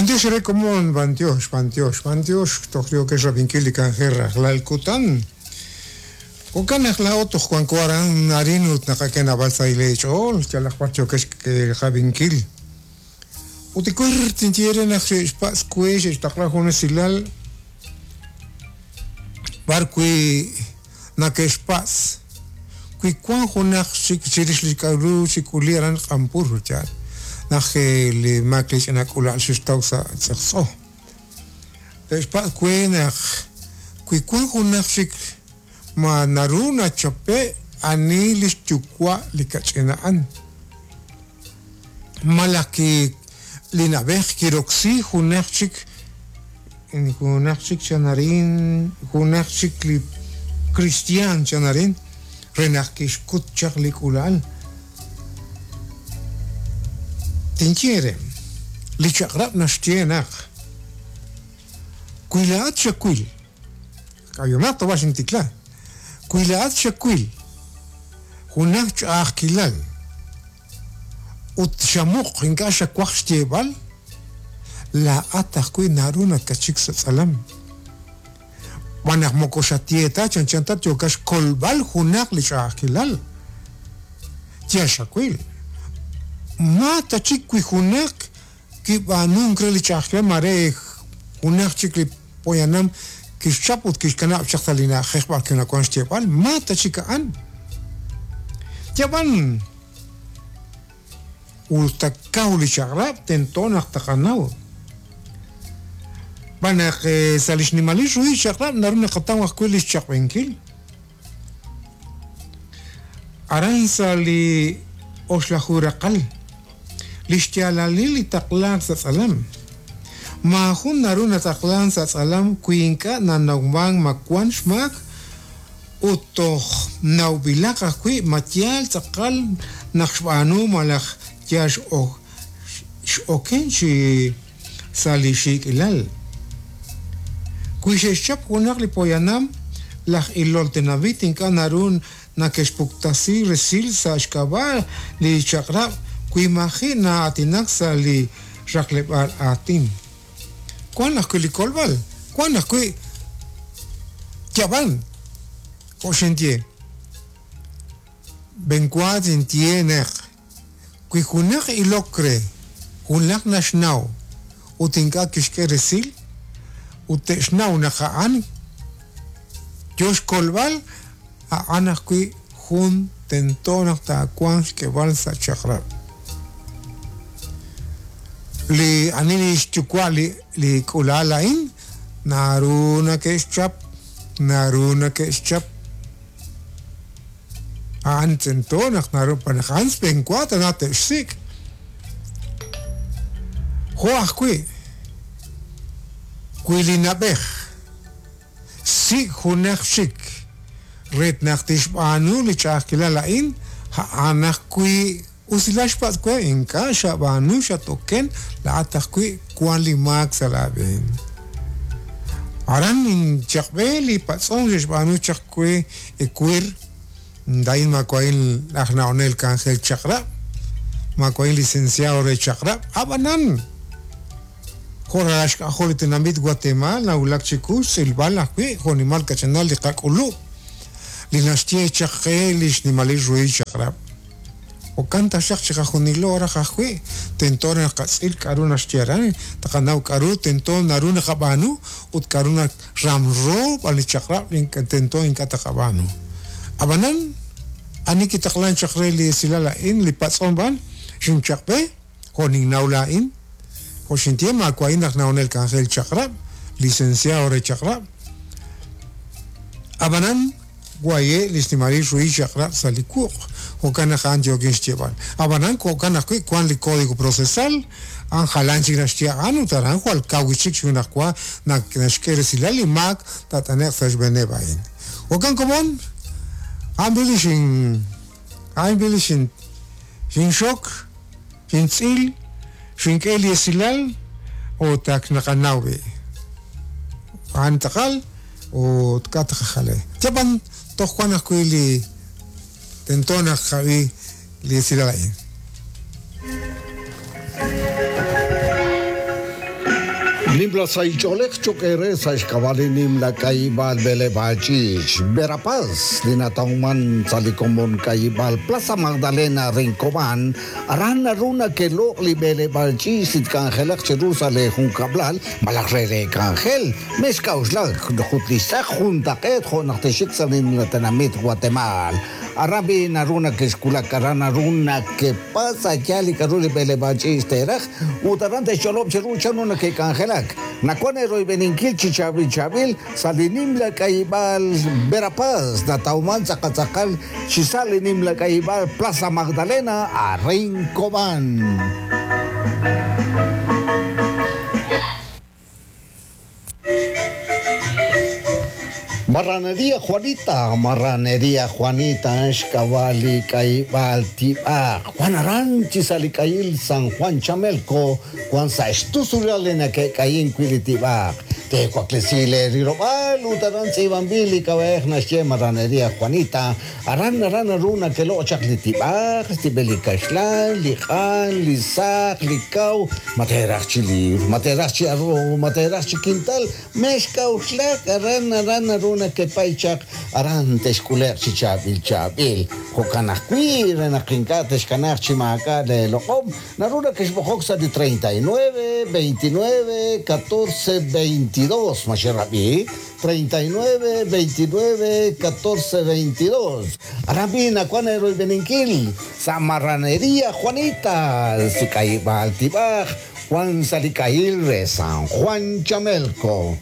B'antiox eere komon, b'antiox, b'antiox, b'antiox, toj yookex rab'inkil li k'anjel rajlal kutan. Jo'kan naq laa'o toj wanko aran arin ut naqak'e naab'al sahil eech'ool, yalaq b'ar yookex qab'inkil. Ut ewer tinye eere naq xe'xpatz' we xe'xtaqla jun esilal b'ar wi' nake'xpatz' wi wan junaq chik chirix li k'a'ru xik'uli aran Q'anpur, yaal, naq li maak li ch'ina k'uula'al xextaw sa' tz'eqtz'o. Te'xpatz' we naq wi wan junaq chik ma naru nachape' ani lix yuwa' li kach'in a'an. Malaj ki li na'b'ej kiroksi junaq chik junaq chik chan arin, junaq chik li kristiaan chan arin re naq kixkut chaq li k'uula'al. Tinye eere, li chaq'rab' naxye naq wi laa'at xawil, k'ayomaq ta wa xintikla, wi laa'at xawil junaq ch'a'ajkilal, Ut xamuq ink'a' xawaj xyeeb'al, laa'at ajwi' naru nakatxik sa' tz'alam. Xb'aan naq moko xatye ta chanchan ta yookat xkolb'al junaq li ch'a'ajkilal. Yal xawil. Ma ta chik wi junaq kib'aanunk re li ch'a'ajkilal maare junaq chik li poyanam kixchap ut kixkanab' chaq sa' li na'ajej b'ar wi' nawank xyeeb'al, ma ta chik a'an. Yab'an us ta kaw li chaq'rab' tento naq taqanaw. Xb'aan naq sa' li xnimalil ruhil chaq'rab' naru naqataw ajwi' li xchaq'b'enkil. Aran sa' li oxlaju raqal, li xyaalalil li taqlaak sa' tz'alam. Maajun naru nataqlank sa' tz'alam wi ink'a' nanawmank ma wank xmaak ut toj nawb'ilaq ajwi' ma yaal tz'aqal naq xb'aanu malaj yal x'oken chi sa' li xiik'ilal. Wi xe'xchap junaq li poyanam, laj ilol tenamit ink'a' naru nake'xpuktasi resil sa' xk'ab'a' li chaq'rab' wi maji' na'aatinak sa' li raqleb'aal aatin. Wank ajwi' li kolb'al, wank ajwi' yab'an, jo' xinye. B'enwa tinye naq Wi junaq ilok re junaq naxnaw ut ink'a' kixk'e resil ut te'xnaw naq a'an yo xkolb'al, a'an ajwi' jun tento naq taawanq xk'eb'al sa' chaq'rab'. Li ani li xyuwa' li k'uula'al a'in naru nake'xchap, naru nake'xchap. A'an tento naq naru naq a'an xb'eenwa tana te'xsik'. Jo' ajwi', wi li na'b'ej xsik' junaq chik re naq tixb'aanu li ch'a'ajkilal a'in, a'an ajwi' usilal xpatz' we, ink'a' xab'aanu xat-oken, laa'at ajwi' wank li maak sa' laab'een. Aran ninchaq'b'e li patz'om xe'xb'aanu chaq we ewer, Laa'in maawa'in aj na'onel k'anjel chaq'rab', maawa'in licenciado re chaq'rab', ab'anan jo' ralal xk'ajol li tenamit Guatemaal nawulak chiwu xtz'ilb'al ajwi' jo'nimal kach'inal li qak'ulub' li naxye chaq qe li xnimalil ruhil chaq'rab'. Jo'kan taxaq chiqajunilo raj ajwi' tento naq tqatz'il k'a'ru naxye aran, tqanaw k'a'ru tento naru naqab'aanu ut k'a'ru ramro b'an li chaq'rab' tento ink'a' taqab'aanu. Ab'anan, ani kitaqlank chaq re li esilal a'in, li patz'om b'an, xinchaq'b'e, jo' ninnaw laa'in, jo' xinye, maawa'in aj na'onel k'anjel chaq'rab', licenciado re chaq'rab'. Ab'anan, waye' li xnimalil ruhil chaq'rab' sa' li wuq', jo'kan naq a'an yookin xyeeb'al. Ab'anan, jo'kan ajwi' wank li Código Procesal, a'an jalan chik naxye a'an ut aran jwal kaw wi' chik xjunajwa naxk'e resilal li maak taat'ane'q sa' xb'eeneb' a'in. Jo'kan komon, a'an b'i li xin, a'an b'i li xin, xinxok, xintz'il, xink'e li esilal ut ak naqanaw b'i'. A'an tz'aqal ut k'a' taqajal re. Yab'an toj wan ajwi' li tento naq qab'i li esilal a'in. Nimla sahil ch'oolej cho'q eere sa' xk'ab'a' li nimla k'ayib'aal b'eleb'aal ch'iich' Verapaz li natawman sa' li komon k'ayib'aal Plaza Magdalena re Cobán. Aran naru nakeloq' li b'eleb'aal ch'iich' li tk'anjelaq cheru sa' leejunkab'lal malaj re leek'anjel. Mexk'a'uxlak ut li xtz'aq juntaq'eet jo' naq texxik sa' li nimla tenamit Watemaal. Aran b'i' naru nakexwulak, aran naru nakepatz' a' yaal li k'aru li b'eleb'aal ch'iich' teeraj ut aran te'xch'olob' cheru chanru nake'k'anjelak. Nawank eeroyb'eninkil chi chaab'il chaab'il sa' li nimla k'ayib'aal Verapaz natawmank tz'aqal tz'aqal chi sa' li nimla k'ayib'aal Plaza Magdalena arin Cobán. Marraneria Juanita, Marraneria Juanita, xk'ab'a' li k'ayib'aal tib'aq. Wan aran chi sa' li k'ayil San Juan Chamelco, wan sa' xtusulal li nake'k'ayink wi' li tib'aq. Teewaklesi leerilob'aal ut aran tz'iib'anb'il li k'ab'a'ej naxye Marraneria Juanita. Aran aran naru nakeloq' chaq li tib'aq, xtib'el li kaxlan, li q'an, li saq, li kaw, ma teeraj chi liibr, ma teeraj chi arroz, ma teeraj chi kintal, Mexk'a'uxlak, aran aran naru nakepay chaq, aran texk'ule'q chi chaab'il chaab'il. Jo'kan ajwi', re naq ink'a' texkanaaq chi maak'a' leeloq'om, naru nakexb'oqok sa' li 39, 29, 14, 22. Ma xerab'i? 39, 29, 14, 22. Aran b'i' nawank eeroyb'eninkil sa' Marraneria Juanita, si k'ayib'aal tib'aj. Wan sa' li k'ahil re San Juan Chamelco.